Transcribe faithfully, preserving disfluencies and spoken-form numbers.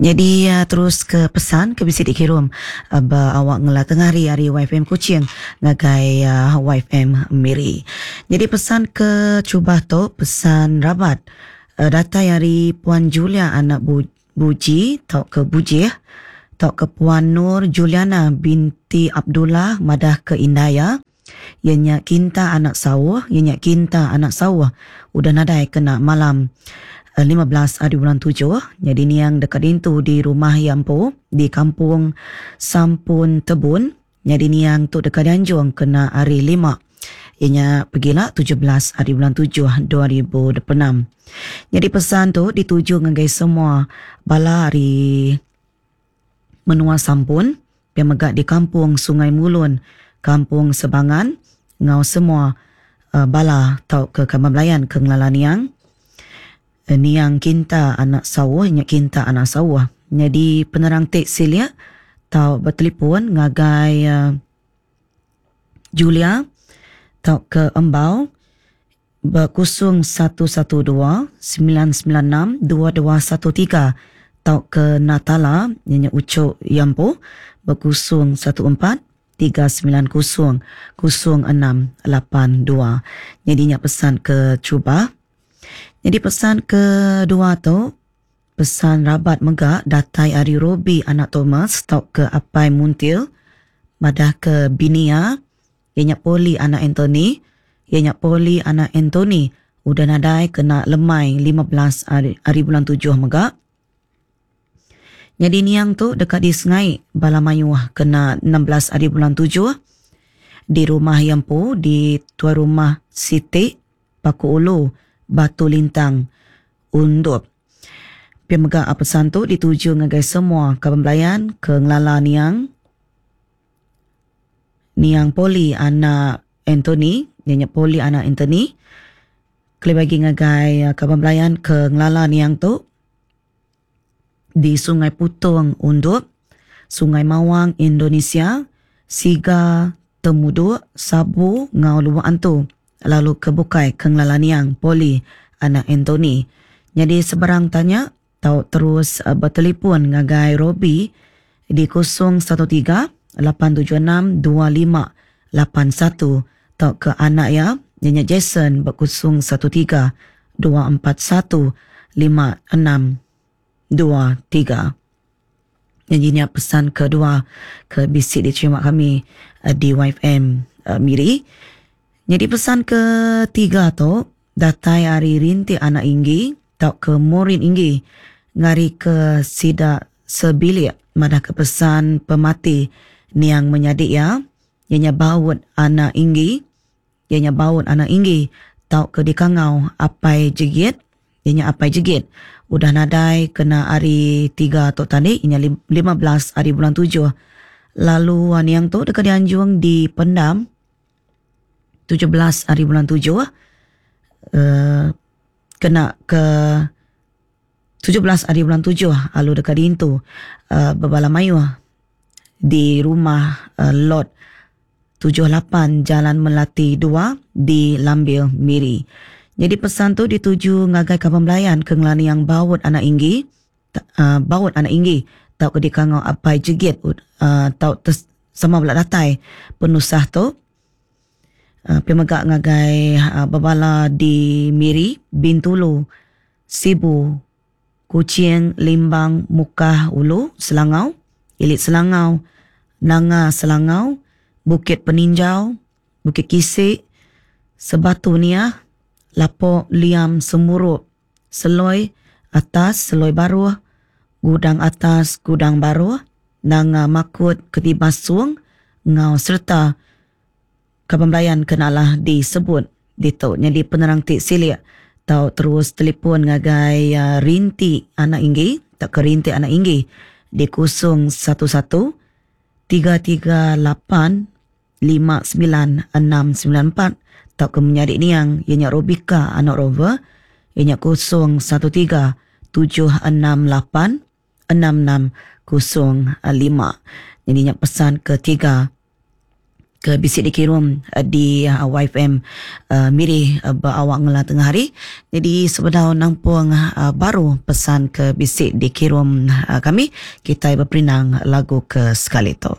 Nyadi terus ke pesan ke bisi dikirum ba awak ngela tengah hari ari Y F M Kuching ngagai Y F M Miri. Nyadi pesan ke cuba tu pesan rabat datai ari Puan Julia anak Buji tau ke Bujih tau ke Puan Nur Juliana binti Abdullah madah ke Indaya ianya Kinta anak Sauh, ianya Kinta anak Sauh udah nadai kena malam lima belas hari bulan tujuh. Jadi niang dekat dintu di rumah Yampu di kampung Sampun Tebun. Jadi niang tu dekat dianjung kena hari lima ianya pergilah tujuh belas hari bulan tujuh dua ribu dua puluh enam. Jadi pesan tu dituju ngagai semua bala hari menua Sampun yang megak di kampung Sungai Mulun, kampung Sebangan, ngau semua uh, bala tau ke kaman belayan ke ngelala niang. Niang Kinta anak Sawah, nya Kinta anak Sawah. Jadi penerang tik silia tau bertelefon ngagai uh, Julia tau ke Embau berkusung satu satu dua sembilan sembilan enam dua dua satu tiga tau ke Natala nya Ucok Yampo berkusung satu empat tiga sembilan kosong kosong enam lapan dua. Jadi nya pesan ke cuba. Jadi pesan kedua tu pesan rabat mega datai ari Robi anak Thomas tau ke Apai Muntil madah ke Binia ianya Poli anak Anthony, ianya Poli anak Anthony udah nadai kena lemai lima belas hari, hari bulan tujuh mega. Jadi niang tu dekat di Sengai bala mayuh kena enam belas hari bulan tujuh di rumah Yampu di tuan rumah Siti Paku Ulu Batu Lintang Undup. Pia mega pesan tu dituju ngagai semua kaban belayan ke ngelala niang niang Poli anak Anthony, ianya Poli anak Anthony. Kelebih bagi ngagai kaban belayan ke ngelala niang tu di Sungai Putong Undup, Sungai Mawang Indonesia, Siga Temuduk, Sabu ngau Lubuk Antu, lalu ke bukai ke ngelala niang Poli anak Anthony. Jadi sebarang tanya tau terus uh, bertelefon ngagai Robi di kosong satu tiga lapan tujuh enam dua lima lapan satu tau ke anak ya ianya Jason berkosong satu tiga dua empat satu lima enam dua tiga. Jadi ni pesan kedua ke bisik diterima kami uh, di Y F M uh, Miri. Jadi pesan ketiga tu datai ari Rintik anak Inggi tau ke Morin Inggi ngari ke sida sebilik madah ke pesan pemati niang menyadik ya ianya baut anak Inggi, ianya baut anak Inggi tau ke dikangau Apai Jegit, ianya Apai Jegit udah nadai kena hari tiga tu tadi ianya lima belas hari bulan tujuh. Lalu niang tu dekat dianjung di Pendam tujuh belas hari bulan tujuh, uh, kena ke tujuh belas hari bulan tujuh lalu dekat dintu uh, berbala mayuh di rumah uh, lot tujuh lapan Jalan Melati dua di Lambil Miri. Jadi pesan tu dituju ngagai kaban belayan ke ngelani yang baut anak Inggi, uh, baut anak Inggi tau ke dikangau Apai Jegit uh, tau tes, sama belak datai penusah tu. Uh, pemegak ngagai uh, bebala di Miri, Bintulu, Sibu, Kuching, Limbang, Mukah, Ulu, Selangau, Ilit Selangau, Nanga Selangau, Bukit Peninjau, Bukit Kisik, Sebatu Niah, Lapok Liam Semuruk, Seloi Atas, Seloi Baruh, Gudang Atas, Gudang Baruh, Nanga Makut, Ketibas Suang, Ngau serta kaban belayan kenalah disebut ditu. Jadi penerang tik silik tau terus telefon ngagai uh, Rinti anak Inggi, tak ke Rinti anak Inggi di kosong satu satu tiga tiga lapan lima sembilan enam sembilan empat tau ke menyadik niang ianya Robika anak Rover ianya kosong satu tiga tujuh enam lapan enam enam kosong lima. Jadi nya pesan ketiga Ke bisi dikirum di Y F M Miri ba awak ngela tengah hari. Jadi sebedau nampung baru pesan ke bisi dikirum kami, kita berperindang lagu ke sekali tu.